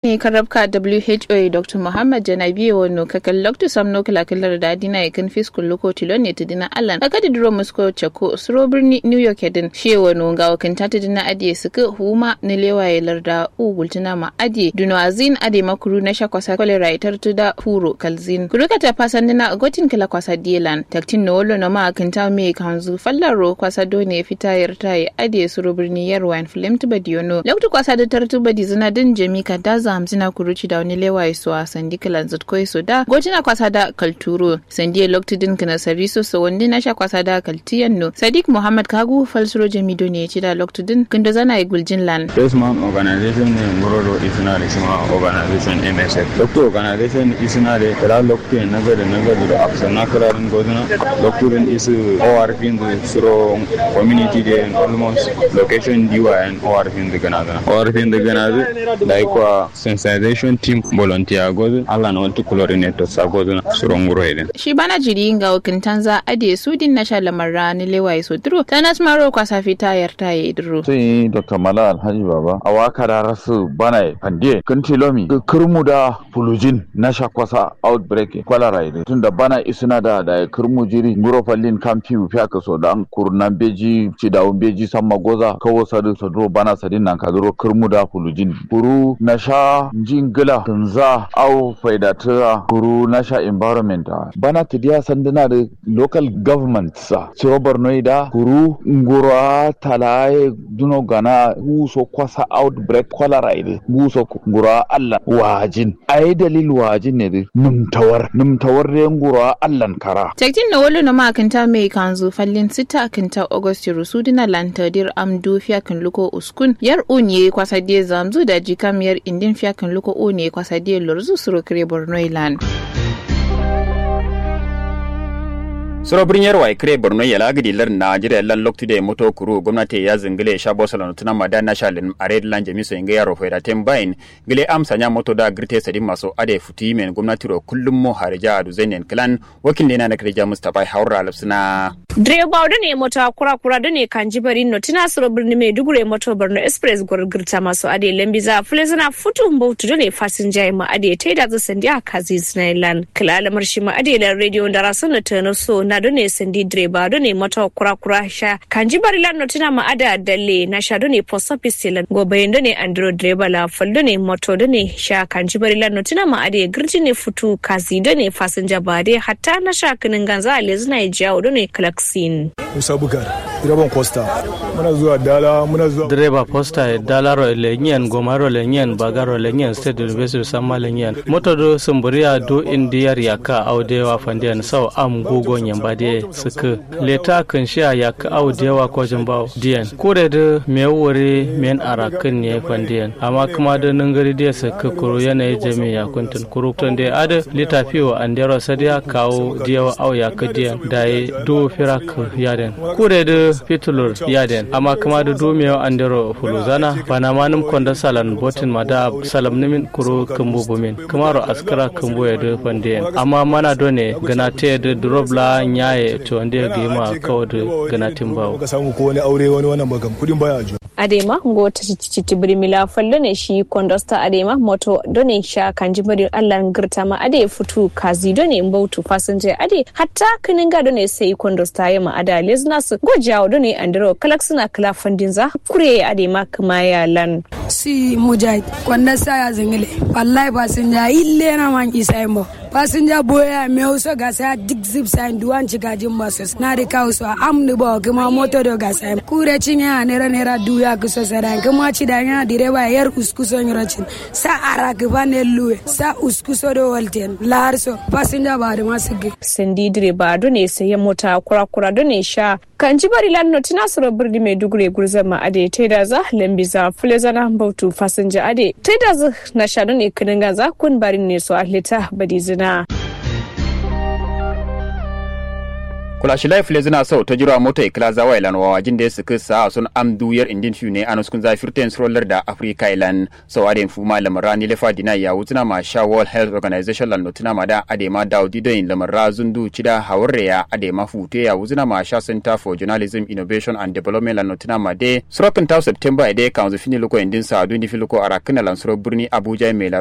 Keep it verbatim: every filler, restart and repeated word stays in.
Ni karrabka who ye dr muhammad janabi ye wano kakal loktu samno kǝla kǝlar da dina ye kǝn fis kulluko tilo ne tǝdina allan kakadi duro musko cakko suro birni new york ye dǝn shi ye wano ngawo kǝnta tǝdina adiye sǝkǝ huma nǝlewa ye larda u gultǝna ma adiye duno azin adai ma kuru nasha kwasa kolera ye tartǝ da furo kalzin kuru kata fasandǝna gotin kǝla kwasa diye lan taktin no wallo no ma kǝnta me kanzu fallaro kwasa done fita yarta ye adiye suro birni yarwa yen fǝlemtǝ badiyono loktu kwasa dǝ tartǝ badizǝna dǝn jami kadda zamzǝna kuru cidawo nǝlewa ye so a sandi kǝlanzǝt ko ye so da gotǝna kwasa da kalturo sandi ye loktu dǝn kǝnasari so so wandi nasha kwasa da kaltǝ yenno sadik muhammad kagu falsuro jami done ye cida loktu dǝn kǝndozana ye guljin lan. Fesman organization ne nguro do isǝna da shima organization msf loktu organization isǝna da kǝla loktu ye nagade nagade do aksana kǝla dǝn gozǝna loktu dǝn isǝ orp dǝ suro community de almost location diwa yen orp dǝ gǝnazǝna orp dǝ gǝnazǝ da ikwa sensitization team volunteer gozǝ allah na waltǝ coordinator sa gozǝna suro nguro ye dǝn. Shi bana jiri ngawo kǝntanza adiye sudin nasha lamarra nǝlewa ye so duro tanas maro kwasa fita yarta ye duro. Sai dr mala alhaji baba awa kada rasu bana ye fande kǝntilomi kǝrmu da fulujin nasha kwasa outbreak ye kwalera ye dǝ tunda bana isǝna da daye kǝrmu jiri nguro fallin kam fiwu fiya kǝso da kuru na mbeji cidawu mbeji samma goza kawo sadǝ so duro bana sadin nankadǝro kǝrmu da fulujin kuru nasha nji ngǝla kǝnza au faidatǝ a kuru nasha environment a bana tǝdiya sandǝna dǝ local government sa suro borno ye da kuru nguro a tala ye duno gana wu so kwasa outbreak kwalera ye dǝ wu so nguro a allan wajin ayi dalil wajin ne dǝ nǝmtawar nǝmtawar dai nguro a allan kara. Taktin no wallo no ma kǝnta mai kanzu fallin sita kǝnta august ye rusudǝna lan tadir am du fiya kǝn luko uskun yar un ye kwasa diye zamzu daji kam yar indin fiya kǝn luko un ye kwasa diye lorzu suro kǝre borno ye lan. Suro birniyar wayi kǝre borno ye la gǝdi lar najeriya lan loktu de moto kuru gomnati ya zǝngǝle sha boso lano tǝna ma da nasha lin are dǝ lan jami so inga yaro faida ten bayin gǝle amsa nya moto da gǝrte sadin maso ade futu yimen gomnati ro kullum mo harija adu zainen kǝlan wakil nde na nakare jamus tabai haura lafsǝna. Direba done moto kura kura done kanji bari no tǝna suro birni maiduguri moto borno express gor gǝrta maso ade lambiza fulezana futu mbautu done fasinja ma ade taida zǝ sandiya kazi zǝna ye lan kǝla lamar shima ade lan radio ndara sono tano so na done sandi direba done moto kura kura sha kanji bari lan no tǝna ma ada dalle nasha done post office ye lan gobayin done andiro direba la fal done moto done sha kanji bari lan no tǝna ma ade gǝrjine futu kazi done fasinja ba de hatta nasha kǝnin ganza lezǝna ye jawo done klaksin. Musa bukar direban costa muna zuwa dala muna zuwa. Direba posta ye dalaro lenyen gomaro lenyen bagaro lenyen state university samma lenyen moto do sumburiya do indiyar yakka au dewa fandiyan sau am gugo nyamba de sǝkkǝ leta kǝnshiya yakkǝ au dewa kojin bawo diyen kure dǝ mewu wuri men arakkǝn ne fandiyen amma kǝma dǝ nǝngǝri de sǝkkǝ kuru yanayi jami yakuntǝn kuru tonde adǝ lita fiwo andero sadiya kawu diyewo au yakkǝ diyen dayi duwu firak yaden kure dǝ fitulur yaden amma kǝma dǝ duwu mewu andero fuluzana bana manǝm kondo salan botin ma da salamnǝmin kuru kǝmbu bumin kǝmaro askǝra kǝmbuye dǝ fandiyen amma mana done gǝnateye dǝ durob la nyaye tonde gǝyima kawo dǝ gǝnatin bawo. Ka samu ko wani aure wani wannan ba kam kudin baya ajo. Adai ma ngo tǝtǝ citti bǝrimi la fal done shi kondosta adai ma moto done sha kanji bari allan gǝrta ma adai futu kazi done mbautu fasinja adai hatta kǝninga done sai kondosta ye ma ada lezǝna sǝ ngo jawo done andero kǝlaksǝna kǝla fandinza kure ye adai ma kǝma ye allan. Si mujahid kondosta ya zǝngǝle wallahi fasinja ille na man isa ye mbo fasinja boye ya mewu so gasa ya duk zip sayin duwan cigajin ma so nadǝ kawu so amdǝ bawo kǝma moto do gasa ye kure cinye ya nera nera duwu yakkǝ so sadayin kǝma cidayin ya direba ye yar usku so nyiro cin sa arakǝ fan ye luwe sa usku so do walten lahar so fasinja ba adǝ ma sǝggǝ. Sandi direba done sai ye mota kura kura done sha kanji bari lan notǝna suro bǝrni maiduguri gulzan ma adai taidaza lambiza fulezana mbautu fasinja adai taidazǝ nasha done kǝnǝnganza kun barin ne so alleta badizǝna. Kula shilai file zǝna sau tajirwa moto ye kǝla zawa ye lan wawa jin dai sǝkǝ sa'a son am du yar indin fiu ne anuskun za firten suro larda afrika ye lan. Sau adai fuma lamar ra nilefa dina ya wuzǝna ma sha world health organization lan notuna ma da adai ma daudi doyin lamar ra zundu cida hawarre ya adai ma futu ya wuzǝna ma sha center for journalism innovation and development lan notuna ma dai suro kǝnta september ye dai kanzu fini luko indin sa'a du ni filuko arakǝna lan suro birni abuja ye mai